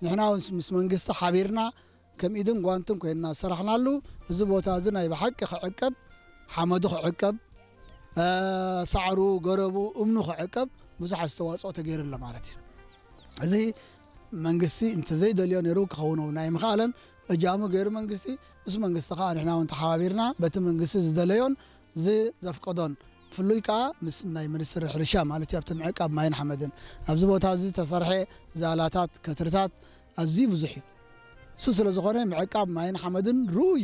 ንሕና እውን ምስ መንግስቲ ሓቢርና ከም ኢድን ጓንትን ኮይንና ዝሰራሕናሉ፣ እዚ ቦታ እዚ ናይ ብሓቂ ክዕቀብ፣ ሓመዱ ክዕቀብ፣ እ፣ ሳዕሩ፣ ገረቡ፣ እምኑ ክዕቀብ ብዙሕ ኣስተዋፅኦ ተገይሩ ኣሎ ማለት እዩ። እዚ መንግስቲ እንተዘይደልዮ ነይሩ ክኸውን እውን ኣይምኽኣለን። እጃሙ ገይሩ መንግስቲ፣ ምስ መንግስቲ ከዓ ንሕና እውን ተሓባቢርና በቲ መንግስቲ ዝደለዮን ዝዘፍቀዶን፣ ፍሉይ ከዓ ምስ ናይ ሚኒስትሪ ሕርሻ ማለት እዩ፣ ኣብቲ ምዕቃብ ማይን ሓመድን ኣብዚ ቦታ እዚ ዝተሰርሐ ዛላታት፣ ከትርታት ኣዝዩ ብዙሕ እዩ። እሱ ስለ ዝኾነ ምዕቃብ ማይን ሓመድን ርኡይ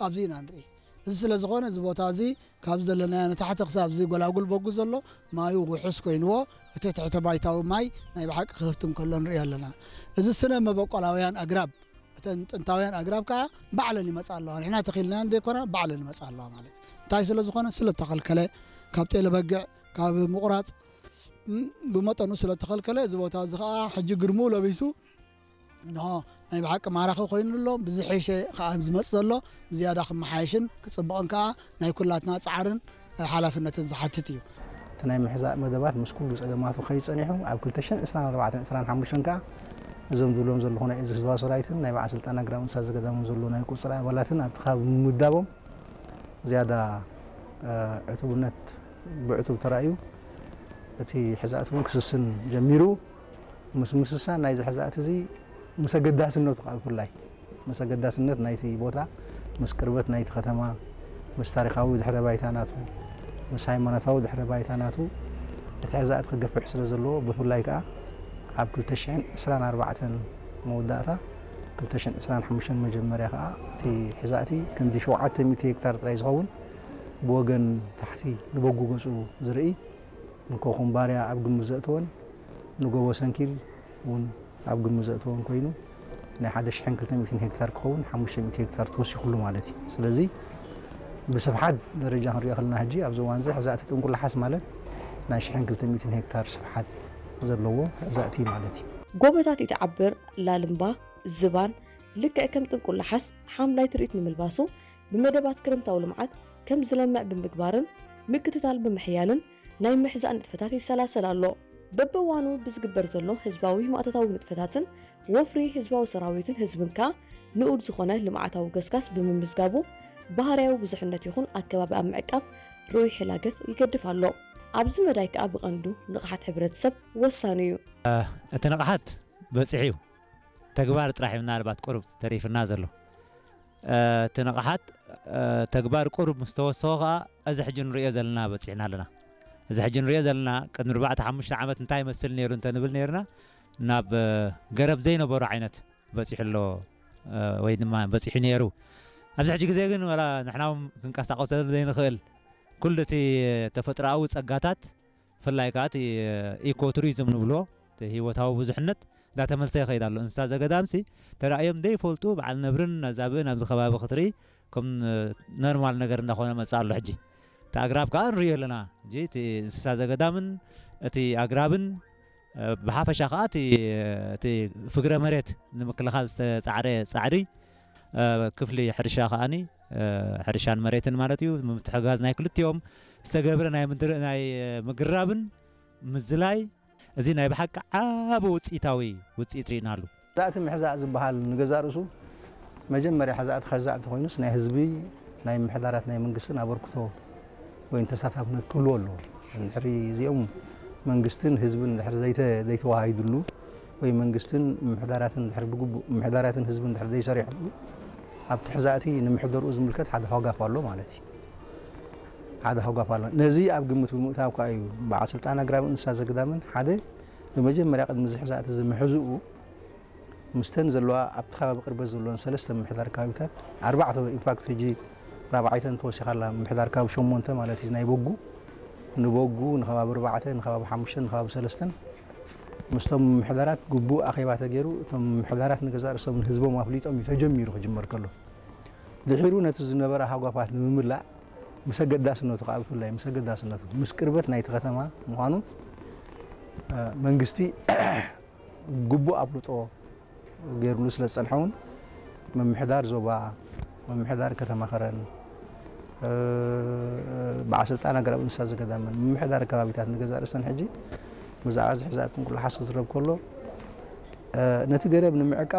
ኣብዚ ኢና ንርኢ። እዚ ስለ ዝኾነ እዚ ቦታ እዚ ካብ ዘለናዮ ንታሕቲ ክሳብ እዚ ጎላጉል በጉ ዘሎ ማዩ ውሑስ ኮይንዎ፣ እቲ ትሕተ ባይታዊ ማይ ናይ ብሓቂ ክህብትም ከሎ ንርኢ ኣለና። እዚ ስነ መበቆላውያን ኣግራብ፣ እተን ጥንታውያን ኣግራብ ከዓ ባዕለን ይመጻ ኣለዋ። ንሕና ተኺልናየን ዘይኮና ባዕለን ይመጻ ኣለዋ ማለት እዩ። እንታይ ስለ ዝኾነ? ስለ ተኸልከለ፣ ካብ ጤለ በግዕ፣ ካብ ምቑራጽ፣ ም፣ ብመጠኑ ስለ ተኸልከለ፣ እዚ ቦታ እዚ ከዓ ሕጂ ግርምኡ ለቢሱ እንሆ ናይ ብሓቂ ማራኺ ኮይኑ ኣሎ። ብዝሐሸ ከዓ ዝመጽእ ዘሎ ብዝያዳ ክመሓየሽን ክጽብቕን ከዓ ናይ ኩላትና ጻዕርን ሓላፍነትን ዝሓትት እዩ። እቲ ናይ ምሕዛእ መደባት ምስ ኩሉ ጸገማቱ ከይጸኒሑ፣ ኣብ ክልተ ሽሕን ዕስራን ኣርባዕተን ዕስራን ሓሙሽተን ከዓ እዞም ዝብሎም ዘለኹ ናይ እዚ ህዝባዊ ሰራዊትን ናይ በዓል ስልጣን ኣግራብ እንስሳ ዘገዳምን ዘሎ ናይ ቁጽሪ ኣባላትን ኣብቲ ከባቢ ምምዳቦም ዝያዳ፣ እ፣ ዕቱብነት ብዕቱብ ተራእዩ፣ እቲ ሕዛእቲ እውን ክስስን ጀሚሩ። ምስ ምስሳን ናይዚ ሕዛእቲ እዚ ምስ ኣገዳስነቱ ከዓ ብፍላይ ምስ ኣገዳስነት ናይቲ ቦታ፣ ምስ ቅርበት ናይቲ ከተማ፣ ምስ ታሪኻዊ ድሕረ ባይታ ናቱ፣ ምስ ሃይማኖታዊ ድሕረ ባይታ ናቱ፣ እቲ ሕዛእቲ ክገፍሕ ስለ ዘለዎ፣ ብፍላይ ከዓ ኣብ ክልተ ሽሕን ዕስራን ኣርባዕተን መወዳእታ፣ ክልተ ሽሕን ዕስራን ሓሙሽተን መጀመርያ ከዓ እቲ ሕዛእቲ ክንዲ ሸውዓተ ሚእቲ ሄክታር ጥራይ ዝኸውን ብወገን ታሕቲ ንበጉ ገጹ ዝርኢ፣ ንኮኹምባርያ ኣብ ግምት ዘእተወን ንጎቦ ሰንኪል እውን ኣብ ግምት ዘእተወን ኮይኑ፣ ናይ ሓደ ሽሕን ክልተ ሚእትን ሄክታር ክኸውን ሓሙሽተ ሚእቲ ሄክታር ተወሲኹሉ ማለት እዩ። ስለዚ ብስፍሓት ደረጃ ክንሪኦ ከለና፣ ሕጂ ኣብዚ እዋን እዚ ሕዛእቲ ጥንቁላሓስ ማለት ናይ ሽሕን ክልተ ሚእትን ሄክታር ስፍሓት ዘለዎ ሕዛእቲ ማለት እዩ። ጎቦታት ኢትዓብር፣ ላልምባ፣ ዝባን፣ ልክዕ ከም ጥንቁላሓስ ሓምላይ ትርኢት ንምልባሱ፣ ብመደባት ክረምታዊ ልምዓት ከም ዝለምዕ ብምግባርን ምክትታል ብምሕያልን ናይ ምሕዛእ ንጥፈታት ይሰላሰል ኣሎ። በብእዋኑ ብዝግበር ዘሎ ህዝባዊ ማእቶታዊ ንጥፈታትን ወፍሪ ህዝባዊ ሰራዊትን ህዝብን ከኣ ንኡድ ዝኾነ ልምዓታዊ ገስጋስ ብምምዝጋቡ፣ ባህርያዊ ብዙሕነት ይኹን ኣከባቢ ኣብ ምዕቃብ ርኡይ ሕላገት ይገድፍ ኣሎ። ኣብዚ መዳይ ከኣ ብቐንዱ ንቕሓት ሕብረተሰብ ወሳኒ እዩ። እቲ ንቕሓት በጺሑ እዩ። ተግባር ጥራሕ እዩ ምናልባት ቁሩብ ተሪፍና ዘሎ። እ፣ እቲ ንቕሓት፣ እ፣ ተግባር ቁሩብ ምስ ተወሰኸ ከኣ፣ እዚ ሕጂ ንርእዮ ዘለና በጺሕና ኣለና። እዚ ሕጂ ንርእዮ ዘለና፣ ቅድሚ ኣርባዕተ ሓሙሽተ ዓመት እንታይ ይመስል ነይሩ እንተ ንብል ነይርና፣ ናብ፣ እ፣ ገረብ ዘይነበሮ ዓይነት በጺሑ ኣሎ፣ እ፣ ወይ ድማ በጺሑ ነይሩ። ኣብዚ ሕጂ ግዜ ግን፣ ዋላ ንሕና እውን ክንቀሳቐሰሉ ዘይንኽእል፣ ኩሉ እቲ ተፈጥሮኣዊ ጸጋታት፣ ብፍላይ ከኣ እቲ ኢኮ ቱሪዝም ንብሎ፣ እቲ ህይወታዊ ብዙሕነት እንዳተመልሰ ይኸይድ ኣሎ። እንስሳ ዘገዳምሲ ተራእዮም ዘይፈልጡ፣ በዓል ነብርን ነዛብእን ኣብዚ ከባቢ ክትርኢ፣ ከም ኖርማል ነገር እንዳኾነ መጽእ ኣሎ። ሕጂ እቲ ኣግራብ ከኣ ንርእዮ ኣለና። ሕጂ እቲ እንስሳ ዘገዳምን እቲ ኣግራብን፣ እ፣ ብሓፈሻ ከኣ እቲ፣ እቲ ፍግረ መሬት ንምክልኻል ዝተጻዕረ ጻዕሪ፣ እ፣ ክፍሊ ሕርሻ ከኣኒ፣ እ፣ ሕርሻን መሬትን ማለት እዩ፣ ምትሕግጋዝ ናይ ክልቲኦም ዝተገብረ ናይ ምድር-፣ ናይ ምግራብን ምዝላይ፣ እዚ ናይ ብሓቂ ዓቢ ውጽኢታዊ ውጽኢት ርኢናሉ። ሕዛእቲ ምሕዛእ ዝበሃል ንገዛእ ርእሱ መጀመርያ ሕዛእቲ ከዛእ እንተኾይኑስ ናይ ህዝቢ፣ ናይ ምምሕዳራት፣ ናይ መንግስትን ኣበርክቶ ወይ ተሳታፍነት ክህልዎ ኣለዎ። እንድሕሪ እዚኦም መንግስትን ህዝብን እንድሕሪ ዘይተ-፣ ዘይተዋሃሂዱሉ ወይ መንግስትን ምምሕዳራትን እንድሕሪ ብግቡእ ምምሕዳራትን ህዝብን እንድሕሪ ዘይሰሪሕሉ ኣብቲ ሕዛእቲ ንምሕደርኡ ዝምልከት ሓደ ሃጓፍ ኣሎ ማለት እዩ። ሓደ ሃጓፍ ኣሎ። ነዚ ኣብ ግምት ብምእታው ከኣ እዩ በዓል ስልጣን ኣግራብን እንስሳ ዘገዳምን ሓደ ብመጀመርያ ቅድሚ እዚ ሕዛእቲ እዚ ምሕዝኡ ምስተን ዘለዋ ኣብቲ ከባቢ ቅርበት ዘለወን ሰለስተ ምምሕዳር ከባቢታት፣ ኣርባዕተ ኢንፋክት ሕጂ ራብዓይተን ተወሲኻ ኣላ፣ ምምሕዳር ከባቢ ሸሞንተ ማለት እዩ፣ ናይ በጉ፣ ንበጉ፣ ንከባቢ ኣርባዕተ፣ ንከባቢ ሓሙሽተ፣ ንከባቢ ሰለስተን ምስቶም ምምሕዳራት ግቡእ ኣኼባ ተገይሩ፣ እቶም ምምሕዳራት ንገዛእ ርእሶም ንህዝቦም ኣፍሊጦም እዩ ተጀሚሩ ክጅመር ከሎ። ድሒሩ ነቲ ዝነበረ ሃጓፋት ንምምላእ ምስ ኣገዳስነቱ ከኣ ብፍላይ ምስ ኣገዳስነቱ ምስ ቅርበት ናይቲ ከተማ ምዃኑ፣ እ፣ መንግስቲ ግቡእ ኣፍልጦ ገይሩሉ ስለ ዝጸንሐ እውን ምምሕዳር ዞባ፣ ምምሕዳር ከተማ ከረን፣ እ፣ በዓል ስልጣን ኣግራብ እንስሳ ዘገዳምን ምምሕዳር ከባቢታት ንገዛእ ርእሰን ሕጂ ብዛዕባ እዚ ሕዛእቲ ጥንቁላሓስ ክዝረብ ከሎ ነቲ ገረብ ንምዕቃብ